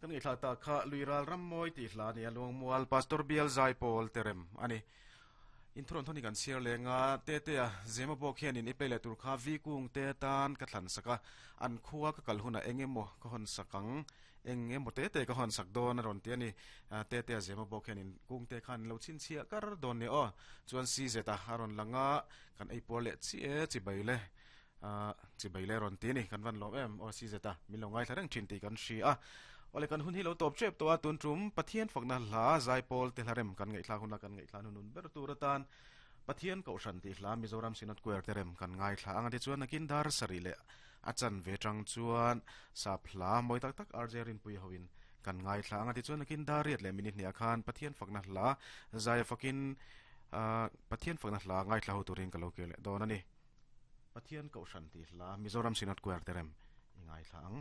Kan ngaihthla ta kha Luiral Rammawi tih hla a ni a, Luangmual Pastor Bial Zaipawl Terem a ni. Inthuron thawni kan chhiar leng a, Tetea Zema bawk hianin i play leh tur kha Vi Kung te tan ka thlan sak a, an khua ka kal hunah eng emaw ka hawn sak ang, eng emaw te te ka hawn sak dawn a rawn ti a ni. Tetea Zema bawk hianin Kung te khan lo chhinchhiah kar dawn ni aw. Chuan CZ a a rawn lang a, kan eipuar leh chiah e chibai le. Ahh chibai le rawn ti a ni, kan van lawm em aw si zeta min lo ngaithla reng thin tih kan hria a. Awle kan hun hi lo tawp tep tawh a, tun tum Pathian fakna hla Zaipawl te hlarem kan ngaihthlak huna kan ngaihthlak hnunun ber tur atan Pathian Kohhran tih hla Mizoram Synod Choir te rem kan ngaithla ang a tichuan nakin dar sarih leh a chanve tang chuan sap hla mawi tak tak RJ Rinpuia hoin kan ngaithla ang a tichuan nakin dar riat leh minute hniah khan Pathian fakna hla Zaia fakin ahh Pathian fakna hla ngaithla ho turin ka lo kir leh dawn a ni. Pathian Kohhran tih hla Mizoram Synod Choir te rem i ngaithla ang.